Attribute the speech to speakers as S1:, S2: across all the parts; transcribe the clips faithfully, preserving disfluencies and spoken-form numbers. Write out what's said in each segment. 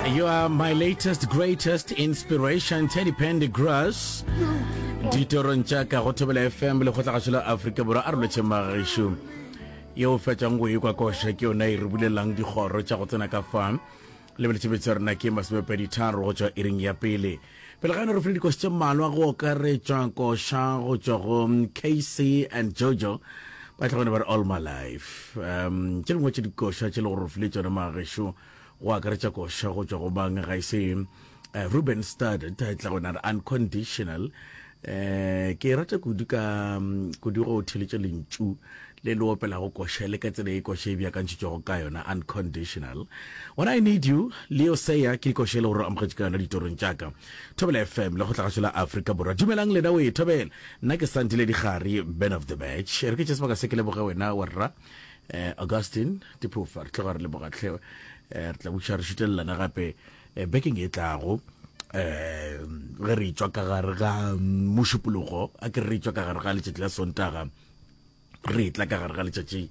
S1: You are my latest greatest inspiration, Teddy Pendergrass. Ditorong tša ka go Thobela F M, Lekgotlagašo la Afrika Borwa. A re lotšhe magešo. Yeo fetšang go ekwa koša ke yona e re bulelang dikgoro tša go tsena ka fa. Lebeletše betše rena ke masomepedi tharo go tšwa iring ya pele. Pele ga yona re file dikoša tše mmalwa, go okaretšwa koša go tšwa go K C and Jojo, ba tla gone ba re "All My Life". um tše dingwe tše dikoša tše le gore re file tšona magešo, go akaretša koša go tšwa go bang ga e se uh, Ruben Studdard, tla gona re "Unconditional". eh ke rata kudu ka mm, kudu go theletša lentšu le le opelago koša le ka tsela e koša e beakantšhitšwego ka yona, "Unconditional". "When I Need You", Leo Sayer, ke dikoša e le gore o amogetše ka yona ditorong tša ka. Thobela F M, le go la Afrika Borwa. Dumelang lena o e thobela. Nna ke Santile Digari, man of the match. Re ke tše sebaka se ke leboge wena warra eh Augustine Diphofa. Re tloga re lebogatlhe, eh re tla buša re šutelelana gape eh, bekeng e tlago, eh ge re tswa ka gare ga Mošupologo, a ke re tswa ka gare ga letšatši la Sontaga, re tla ka gare ga letšatši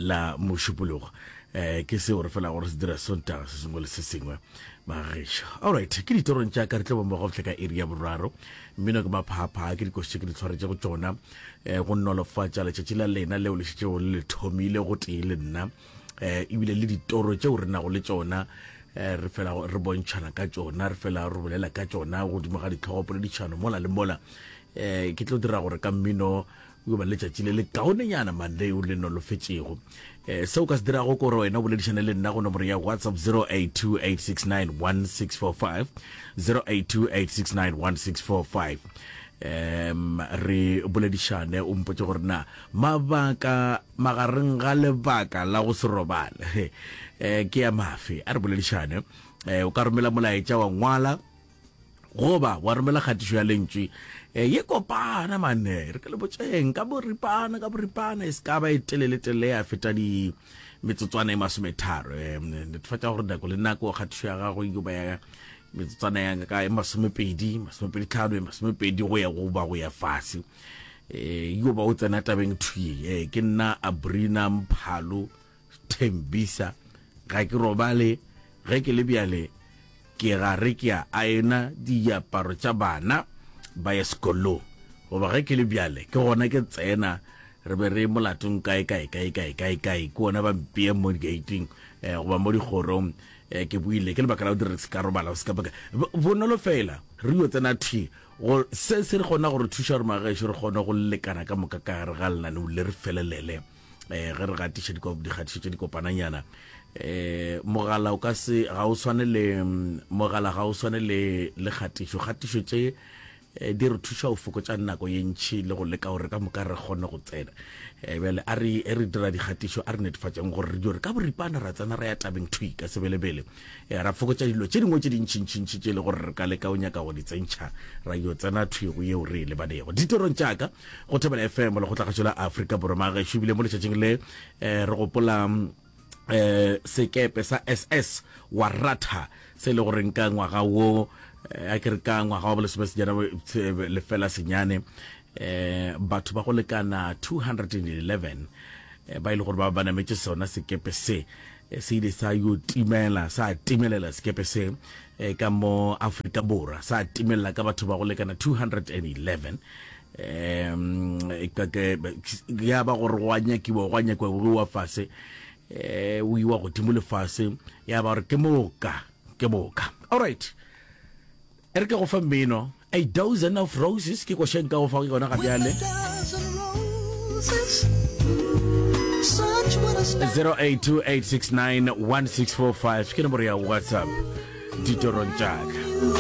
S1: la Mošupologo. eh ke seo re fela gore se dira Sontaga se sengwe le se sengwe, magešo. Alright, ke ditorong tša ka, re tlo bommogo fitlha ka iri ya boraro. Mmino ke maphapha, ke dikoši tše ke di tshwaretše go tšona um go nolofatša letšatši la lena leo le šetšego le le thomile go tee le nna, um ebile le ditoro tšeo re nago le tšona, eh, re fela re bontšhana ka tšona, re fela re bolela ka tšona godimo ga ditlhogopoledišano mola le mola. um ke tlo dira gore ka mmino o ba letšatši le le kaonenyana maleo le nolofetšego. um seo ka se dirago ke gore wena o boledišane le nna go nomoro ya WhatsApp zero eight two eight six nine one six four five, zero eight two eight six nine one six four five. um re boledišane, o mpotse gore na mabaka magareng ga lebaka la go se robale um ke ya mafe. A re boledišane. um o ka romela molaetša wa ngwala goba wa romela kgatišo ya lentšwe um ye kopana mane, re ke le botšeng ka boripana, ka boripana, e se ka ba e telele telele ya feta di metsotswana e masometharo. um netefatša gore nako le nako kgatišo ya gago e ba ya metsotswana ya ka e masomepedi, masomepedi tlhano, e masomepedi go ya go ba go ya fase, um yo ba o tsena tabeng thwi. um ke nna Abrina Mphalo Thembisa, ga ke robale ge ke le bjale, ke gare ke a aena diaparo tša bana ba ya sekolong, goba ge ke le bjale ke gona ke tsena re be re molatong kae kae kae kae kae kae, ke ona ba mpea mo di-gating um goba mo dikgorong. um ke buile ke lebaka la go dira se ka robala se ka baka bonolo fela, re yo tsena thwi go se se re kgona gore thuša gore magešo re kgone go lekana ka moka ka gare ga lenaneo le re felelele. um ge re gatiša dikgatišo tše dikopananyana, eh mogala o ka se ga o swane le mogala, ga o swane le le kgatišo. Kgatišo tše eh, di re thuša go fokotša nako ye ntšhi le go leka gore ka moka re kgone go tsena. um bjale a re e re dira dikgatišo, a re netefatšeng gore re dio re ka boripana ra tsena ra ya tabeng thwi ka sebelebele, um ra fokotša dilo tše dingwe tše dintšhintšhintšhi tše e le gore re ka leka o nyaka go di tsentšha, ra yo tsena thwi go yeo re e lebanego ditorong tšaka go Thobela F M, Lekgotlagašo la Afrika Borwa. Magešo, ebile mo letšatšing le um re gopola eh sekepe sa S S Waratah, se le gore ka ngwaga wo, a ke re ka ngwaga wa bolesome senyane lefela senyane, eh batho ba go lekana two hundred and eleven ba ile gore ba ba nametše sona sekepe se, se ile sa yo timela, sa timelela sekepe se ka mo Afrika Borwa, sa timelela ka batho ba go lekana two hundred and eleven. um ya ba gore go a nyakiwa, go a nyakiwa, go wa fase, eh o iwa godimo lefase, ya ba gore ke moka, ke moka. Alright, e re ke go fa mmino, "A Dozen of Roses", ke košeng ka go fa yona ga bjale. zero eight two eight six nine one six four five ke nomoro ya WhatsApp ditorong tšaka.